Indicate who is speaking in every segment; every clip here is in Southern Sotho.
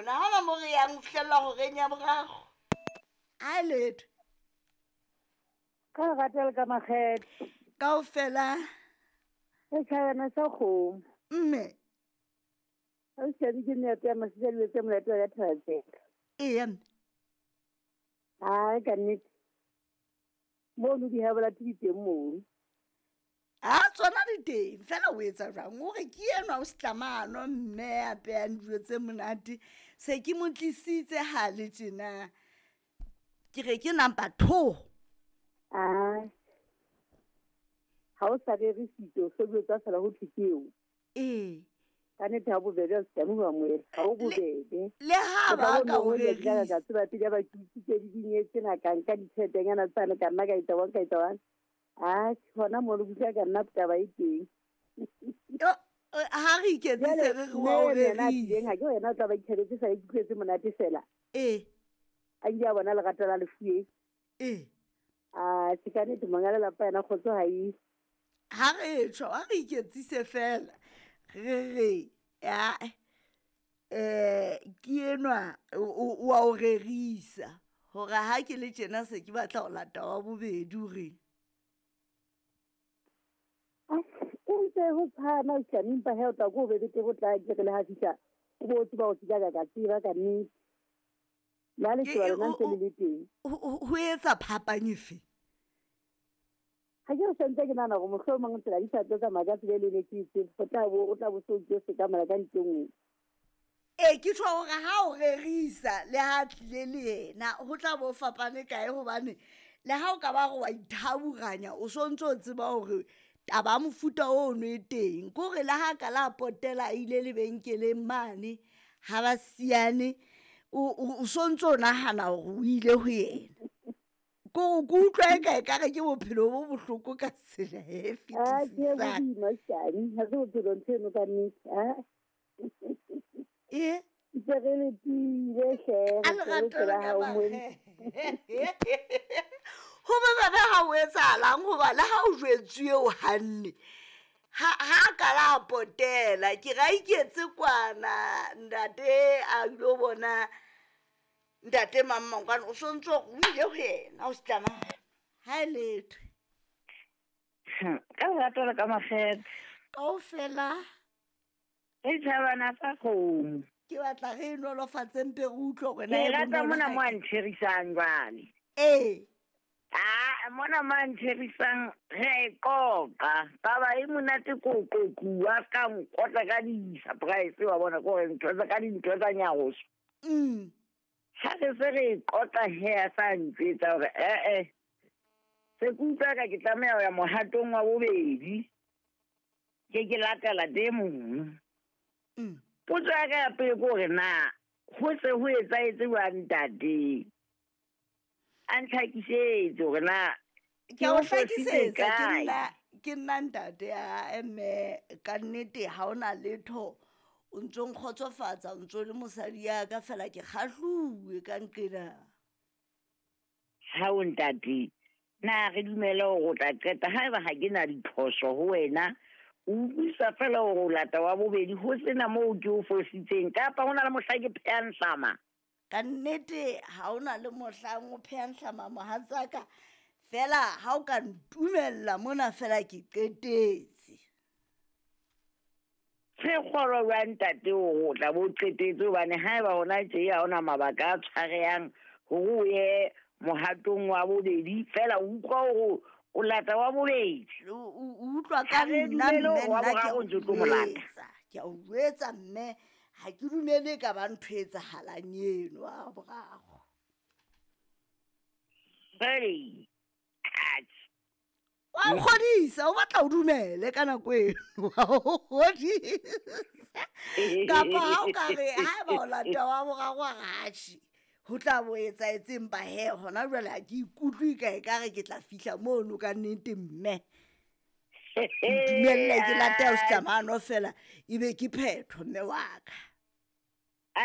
Speaker 1: rona ga ona mo re yang go fitlhelela goreng ya morago a letho.
Speaker 2: Ka lerato le ka makgetho.
Speaker 1: Kao fela.
Speaker 2: Setšhabana sa kgomo.
Speaker 1: Mme.
Speaker 2: Ga o siame ke meato ya masisa dilo tse molato wa ka thabatseka.
Speaker 1: Ee mme.
Speaker 2: Ai ka nnete. Mono di habola di teng mono.
Speaker 1: A tsona di teng fela o etsa jwang o re ke enwa o setlamano mme a peyang dijo tse monate se ke mo tlisitse ha le tjena ke re ke number 2.
Speaker 2: Ai. Ha o sa rerisitse o so tsa fela ho thwe ke eo.
Speaker 1: Ee.
Speaker 2: Ka nnete ha bobebe o se mo amohela ha o bobebe.
Speaker 1: Le ha ba ka o rerisa.
Speaker 2: Ka tseba pele ba ke itse di dinyetse na ka nka ditjheletenyana tsane ka nna ka etsa wa ka etsa wa. Ah, hona mo le bua ka nna taba e teng.
Speaker 1: Ha re iketsise re re wa o rerisa.
Speaker 2: Ha ke wena o tla ba itjheletse sa ikutlwetse monate fela.
Speaker 1: Ee.
Speaker 2: A nke a bona lerato la lefueng.
Speaker 1: Ee.
Speaker 2: Ah, ke ka nnete monga lelapa yena kgotso ha e.
Speaker 1: Ha re tjho, ha re iketsise fela. Re re ya ke enwa o wa o rerisa hore ha ke le tjena se ke batla ho lata wa bobedi o reng.
Speaker 2: O ntse ho tshwana o tla empa he o tla go be bete go tla ke re le ha fihla o bo tseba o tseba ka tseba ka nnete. La le tseba lona ntse le le teng.
Speaker 1: Ho etsa phapang efe?
Speaker 2: Ha ke re sentse ke nahana hore mohlomong tsela di sa tlo tsamaya ka tsela e le ne ke itse o tla bo so ke se ka mala ka ntle.
Speaker 1: Ee ke tjho hore ha o rerisa le ha tlile le yena ho tla bo fapane kae hobane le ha o ka ba re wa ithaburanya o so ntso o tseba hore taba mofuta ono e teng ke hore le ha ka la potela a ile lebenkeleng mane ha ba siane o so ntso o nahana hore o ile ho yena. Ke utlwa eka ekare ke bophelo bo bohloko ka tsela e fetisisang.
Speaker 2: Ah, ke boima shani, ha se bophelo ntho eno ka nnete. Ah.
Speaker 1: Ee.
Speaker 2: Ntse re le tiile hle,
Speaker 1: A lerato le ka ho bobebe ha o etsahalang hoba le ha o jwetsuwe o hanne ha ka la potela ke ra iketse kwana ntate a ilo bona ntate mang mang kwana o so ntso o ile ho yena o se tlamang ha e letho.
Speaker 3: Ka lerato le ka makgethe.
Speaker 1: Kaofela.
Speaker 3: Setjhabana sa kgomo.
Speaker 1: Ke batla re nolofatse mpe re utlwe hore na
Speaker 3: Ke rata mona mo a ntherisang jwale.
Speaker 1: Ee.
Speaker 3: Ah, mona mo a ntherisang re a e qoqa. Taba e monate ko qoquwa ka nkotla ka di-surprise wa bona ke hore ntho tsa ka dintho tsa nyaroso. Ha re se re qoqa he a sa ntjwetsa hore se ke utlwa ka ke tlameha ho ya mohatong wa bobedi. Ke latela tse mong. Potso ya ka ya pele ke hore na ho se ho etsahetse jwang ntate? A ntlhakisetse hore na
Speaker 1: ke o hlakisetsa ke nna ntate ya mme ka nnete ha ona letho o ntso nkgotsofatsa o ntso le mosadi ya ka fela ke kgahluwe ka nqena.
Speaker 3: Ha o ntate na re dumele hore o tla qeta haeba ha ke na diphoso ho wena o utlwisa fela hore o lata wa bobedi ho sena moo ke o fositseng kapa ho na le mohla ke phehang hlama.
Speaker 1: Ka nnete ha ona le mohlang o phehang hlama mohatsaka fela ha o ka ntumella mona fela ke qetetse.
Speaker 3: Se kgolwa jwang ntate hore o tla bo qetetse hobane haeba hona tje ha ona mabaka a tshwarehang hore o ye mohatong wa bobedi fela o utlwa hore o lata wa bobedi.
Speaker 1: O utlwa ka nna mme nna ke
Speaker 3: o ntse o tlo mo lata.
Speaker 1: Ke a o jwetsa mme ha ke dumele ka ba ntho e etsahalang eno a boraro.
Speaker 3: Hey.
Speaker 1: Wa nkgodisa o batla o dumele ka nako eno wa o kgodisa. Kapa ha o ka re haeba o lata wa boraro wa ratjhe ho tla bo etsaetseng ba he hona jwale ha ke ikutlwe ka ekare ke tla fihla mono ka nnete mme. Ntumelle ke late o setlamano fela ebe ke phetho mme wa ka.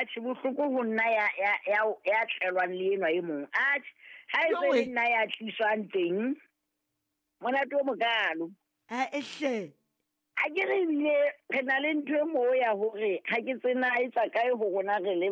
Speaker 3: Atjhe bohloko ho nna ya tlelwang le enwa e mong. Atjhe ha e se le nna ya tliswang teng monate o mokalo.
Speaker 1: Ehle.
Speaker 3: Ha ke re ebile re na le ntho e moo ya hore ha ke tsena e tswa kae ho rona re le